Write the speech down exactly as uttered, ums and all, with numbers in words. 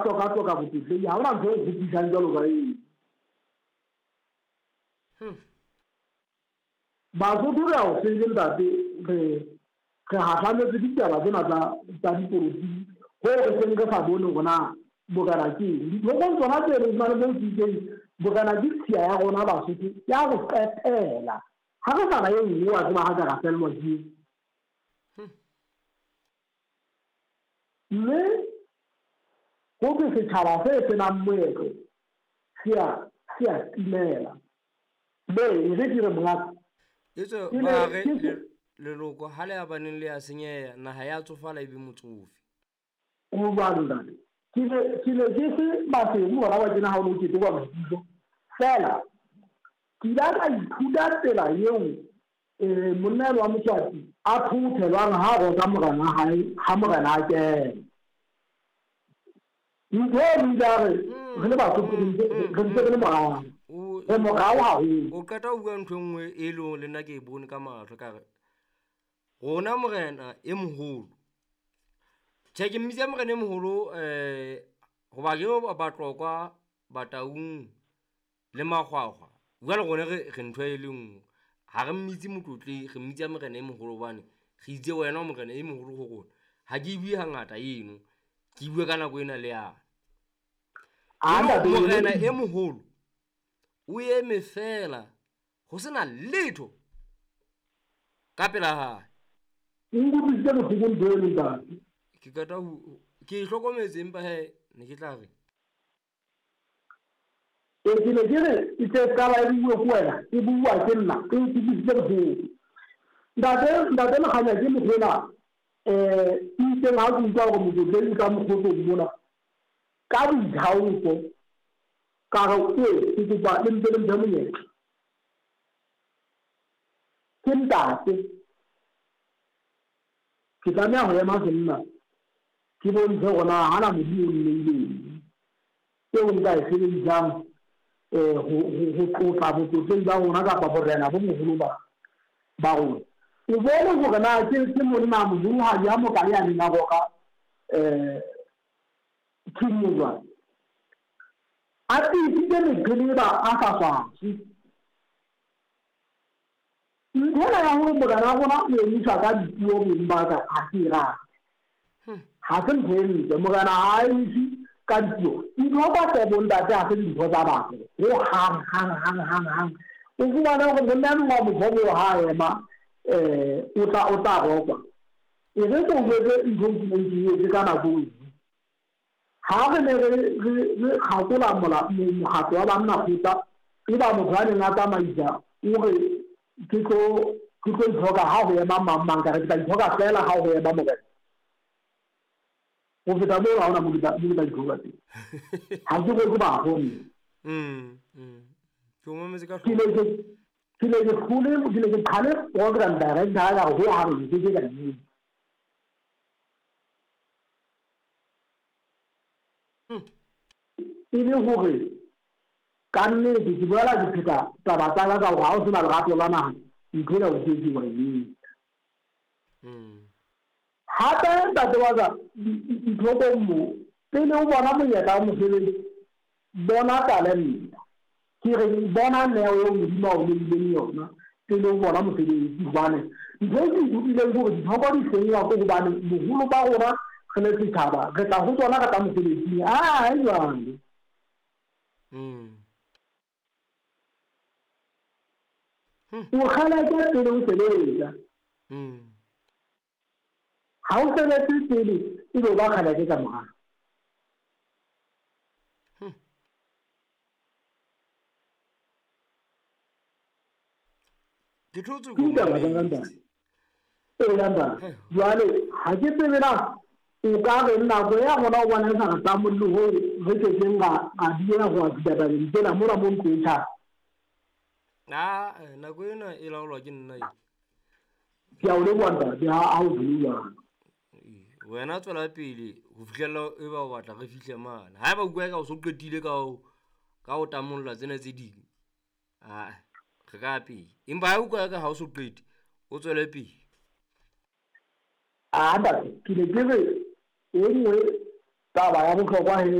Tloka-tloka botlotlei, ha hona ntho e kgopisang jwalo ka eo. Hmm. Basotho re a o tsebe ntate, re re hahlametse ditaba tsena tsa tsa dipolotiki hoo re seng re sa bone hore na borena ke eng. Dithokong tsona tse re fumane moo ke itseng borena ke tshiya ya rona Basotho ya ho qetela. Ha re sa na e nngwe wa tseba ha ka ra fellwa ke eo. Hmm. Mme ho thwe setjhaba se senang moetlo se a se a timela. Be e re ke re mongaka. Etswe Ke ne ba re ke le- leloko ha le ya baneng le ya senyeha, naha ya tsofala e be motsofe. Ho jwalo ntate. Ke ne ke ne ke se Maseru hona wa tjena ha o no ketekwa boitsebiso. Feela ke ile ka ithuta tsela eo eh monna enwa wa Moswati a thoothelwang ha roka morena wa hae ha morena a kena. Ntho eno o ile a re re le Basotho re ntse re ntse re le morao. O Re morao haholo. o qeta ho bua ntho e nngwe e leng hore le nna ke e bone ka mahlo ka re rona morena e moholo. Tjhe, ke mmitsa morena e moholo eh hoba ke Batlokwa, Bataung le Makgwakgwa. Jwale rona re re ntho e le nngwe. Ha re mmitse motlotlehi, re mmitsa morena e moholo hobane re itse wena o morena e moholo ho rona. Ha ke e bue hangata eno, ke e bue ka nako ena le yane. Ah, ntate, Morena e moholo o eme feela ho sena letho ka pela hae. E nkutlwisitse bohloko ntho eno ntate. Ke qeta ho ke e hlokometse empa hee ne ke tla re E ke ne ke re e tle qala e bue ke wena, e bua ke nna, e nkutlwisitse bohloko. Ntate ntate Lekganya ke motho enwa eh itseng ha ke utlwa hore motlotlehi o tla mokgotlong mona ka boithaopo ka re ee ke kopa le mpe le mphe monyetla. Ke ntate, ke tlameha ho ema senna ke bontshe hore na hana Modimo o nneileng eo nka e sebedisang eh ho ho ho tlotla botlotlehi ba rona kapa borena bo boholo ba ba rona. O bone hore na ke ke monna moholohadi a mokae a neng a roka eh King Mojwane. A tiisitse meqheleba a sa swaswe. Ntho ena ya hore morena wa rona o emiswa ka dipuo beng ba ka ha ke e rate. Ha se ntho e ntle, morena ha a emiswe ka dipuo. Ntho tsa kgwebo ntate ha se dintho tsa batho hohang hang hang hang hang. O fumane hore monna enwa wa motho ha a ema eh o tla o tla rokwa. E re ke o jwetse ntho e ke neng ke e etse ka nako e nngwe. Ha re ne re re re kgakola mola mokgatlo wa banna kgotla, e ba motho a neng a tsamaisa o re ke tlo ke tlo ithoka ha ho ema mang mang, ka re ke tla ithoka feela ha ho ema morena. Ho feta moo ha hona moo ke tla moo ke tla ithoka teng. Ha ke roke bafo nna. Mm, mm. Ke o mametse ka Ke ne hloko. ke ke ne ke hlole ke ne ke qhale program director ka re hohang nke ke ka e etsa. Hmm. E le hore ka nnete ke boela ke pheta taba tsa ka ka hore ha o sena lerato la naha ntho ena o keke wa e etsa. Mm. Hape ntate wa ka dithokong mo pele o bona monyetla wa mosebetsi bona talente. Ke re bona neo eo Modimo a o neileng yona pele o bona mosebetsi hobane ntho e ke ithutileng ke hore dithoko di senngwa ke hobane boholo ba rona re le setjhaba re tla ho tsona re tla mosebetsing. Ah, jwale. Mm. Hmm. O kgeleke pele o sebetsa. Mm. Ha o sebetse pele ebe o ba kgeleke ka morao. Hmm. Ke thotse Ke ko ditaba tsa ka mametse. ntate. Ee ntate. Heh. Jwale ha ke tsebe na o ka re nako ya rona o bona e sa re tlamolle hoo re kekeng ra ra dieha ho ya fihla tabeng tsena mona mo ntlo e tjhang. Ah, eh, nako ena e laolwa ke nna e. Ke a o leboha ntate ha ha o jwalo jwalo. Ee, wena tswela pele ho fihlella e ba o batla re fihle mane. Haeba o utlwa eka o so qetile ka ho ka ho tamolla tsena tse ding, ah, re ka ya pele. Empa ha o utlwa eka ha o so qete, o tswele pele. Ah ntate, ke ne ke re e nngwe taba ya bohlokwa he